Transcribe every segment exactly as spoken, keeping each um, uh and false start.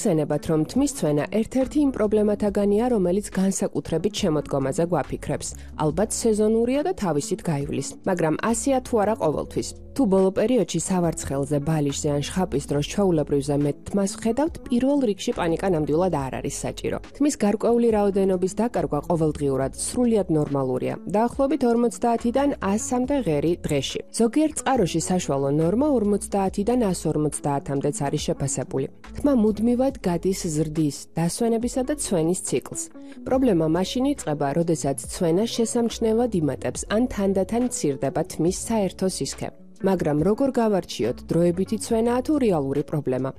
ხსენებათ, რომ თმის ცვენა ერთ-ერთი იმ პრობლემათაგანია, რომელიც განსაკუთრებით შემოდგომაზე გვაფიქრებს. ალბათ სეზონურია და თავისით გაივლის, მაგრამ ასეა თუ არა ყოველთვის. თუ ბოლო პერიოდში სავარცხელზე, ბალიშზე ან შხაპის დროს ჩვეულებრივზე მეტ თმას ვხედავთ, პირველ რიგში პანიკა ნამდვილად არ არის საჭირო. თმის გარკვეული რაოდენობის დაკარგვა ყოველდღიურად სრულიად ნორმალურია. დაახლოებით ორმოცდაათიდან ასამდე ღერი დღეში. ზოგიერთ წყაროში საშუალო ნორმა ორმოცდაათიდან ასს ორმოცდაათამდეც არის შეფასებული. თმა მუდმივად გადის ზრდის, დასვენებისა და ცვენის ციკლს. პრობლემა მაშინ იწყება, როდესაც ცვენა შესამჩნევად იმატებს ან თანდათან მცირდება თმის საერთო სისქე. მაგრამ როგორ გავარჩიოთ, დროებითი ცვენაა თუ რეალური პრობლემა?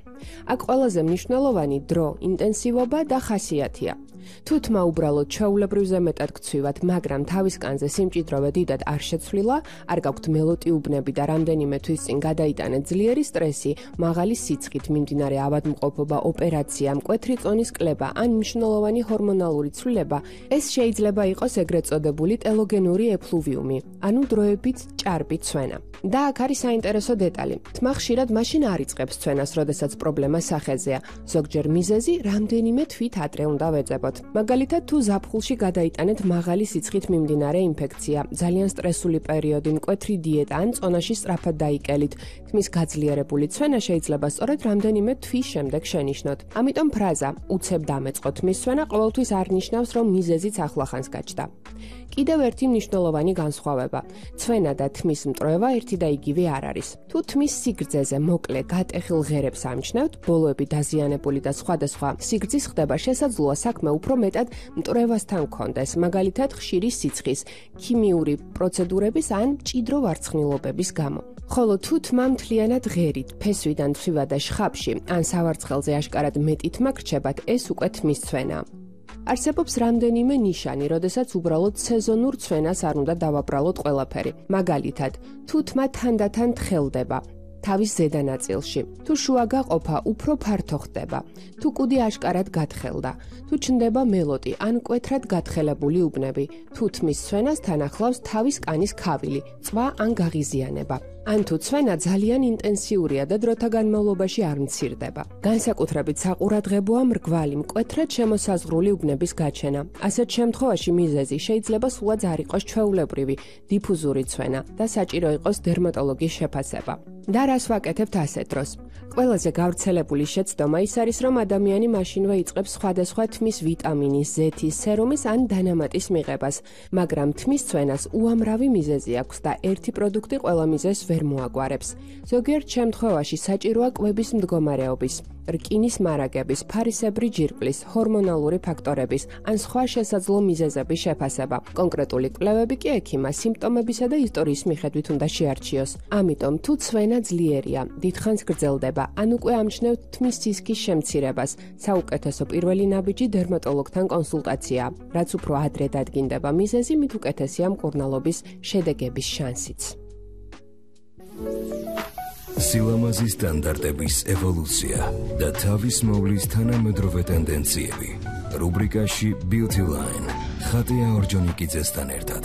აქ ყველაზე მნიშვნელოვანი დრო, ინტენსივობა და ხასიათია. თუ თმა უბრალოდ ჩვეულებრივზე მეტად გცვივათ, მაგრამ თავის კანზე სიმჭიდროვე დიდად არ შეცვლილა, არ გაქვთ მელოტი უბნები და რამდენიმე თვის წინ გადაიტანეთ ძლიერი სტრესი, მაღალი სიცხით მიმდინარე ავადმყოფობა, ოპერაცია, მკვეთრი წონის კლება ან მნიშვნელოვანი ჰორმონალური ცვლილება, ეს შეიძლება იყოს ეგრეთ წოდებული ტელოგენური ეფლუვიუმი, ანუ დროებით ჭარბი ცვენა. და აქ არის საინტერესო დეტალი. თმა ხშირად მაშინ არ იწყებს ცვენას, როდესაც პრობლემა სახეზეა. ზოგჯერ მიზეზი რამდენიმე თვით ადრე უნდა ვეძებოთ. მაგალითად, თუ ზაფხულში გადაიტანეთ მაღალი სიცხით მიმდინარე ინფექცია, ძალიან სტრესული პერიოდი, მკვეთრი დიეტა ან წონაში სწრაფად დაიკელით, თმის გაძლიერებული ცვენა შეიძლება სწორედ რამდენიმე თვის შემდეგ შენიშნოთ. ამიტომ ფრაზა უცებ დამეწყო თმის ცვენა ყოველთვის არ ნიშნავს, რომ მიზეზიც ახლახანს გაჩნდა. კიდევ ერთი მნიშვნელოვანი განსხვავება. ცვენა და თმის მტროევა ერთი და იგივე არ არის. თუ თმის სიგრძეზე მოკლე გატეხილ ღერებს ამჩნევთ, ბოლოები დაზიანებული და სხვადასხვა სიგრძის ხდება, შესაძლოა საქმე უფრო მეტად მტრევასთან გქონდეს, მაგალითად ხშირი სიცხის, ქიმიური პროცედურების ან მჭიდრო ვარცხნილობების გამო. ხოლო თუ თმა მთლიანად ღერით, ფესვიდან ცვივა და შხაპში, ან სავარცხელზე აშკარად მეტი თმა გრჩებათ, ეს უკვე თმის ცვენაა. არსებობს რამდენიმე ნიშანი, როდესაც უბრალოდ სეზონურ ცვენას არ უნდა დავაბრალოთ ყველაფერი. მაგალითად, თუ თმა თანდათან თხელდება თავის ზედა ნაწილში, თუ შუა გაყოფა უფრო ფართო ხდება, თუ კუდი აშკარად გათხელდა, თუ ჩნდება მელოტი ან მკვეთრად გათხელებული უბნები, თუ თმის ცვენას თან ახლავს თავის კანის ქავილი, წვა ან გაღიზიანება. ან თუ ცვენა ძალიან ინტენსიურია და დროთა განმავლობაში არ მცირდება. განსაკუთრებით საყურადღებოა მრგვალი, მკვეთრად შემოსაზღვრული უბნების გაჩენა. ასეთ შემთხვევაში მიზეზი შეიძლება სულაც არ იყოს ჩვეულებრივი, დიფუზური ცვენა და საჭირო იყოს დერმატოლოგის შეფასება. და რას ვაკეთებთ ასეთ დროს? ყველაზე გავრცელებული შეცდომა ის არის, რომ ადამიანი მაშინვე იწყებს სხვადასხვა თმის ვიტამინის, ზეთის, სერუმის ან დანამატის მიღებას, მაგრამ თმის ცვენას უამრავი მიზეზი აქვს და ერთი პროდუქტი ყველა მიზეზს ვერ მოაგვარებს. ზოგიერთ შემთხვევაში საჭიროა კვების მდგომარეობის, რკინის მარაგების, ფარისებრი ჯირკვლის, ჰორმონალური ფაქტორების ან სხვა შესაძლო მიზეზების შეფასება. კონკრეტული კვლევები კი ექიმას სიმპტომებისა და ისტორიის მიხედვით უნდა შეარჩიოს. ამიტომ თუ ცვენა ძლიერია, დიდხანს გრძელდება, ან უკვე ამჩნევთ თმის სისქის შემცირებას, საუკეთესო პირველი ნაბიჯი დერმატოლოგთან კონსულტაციაა. რაც უფრო ადრე დადგინდება მიზეზი, მით უკეთესია მკურნალობის შედეგების შანსიც. სილამაზის სტანდარტების ევოლუცია და თავის მოვლის თანამედროვე ტენდენციები. რუბრიკაში Beauty Line ხატია ორჯონიკიძესთან ერთად.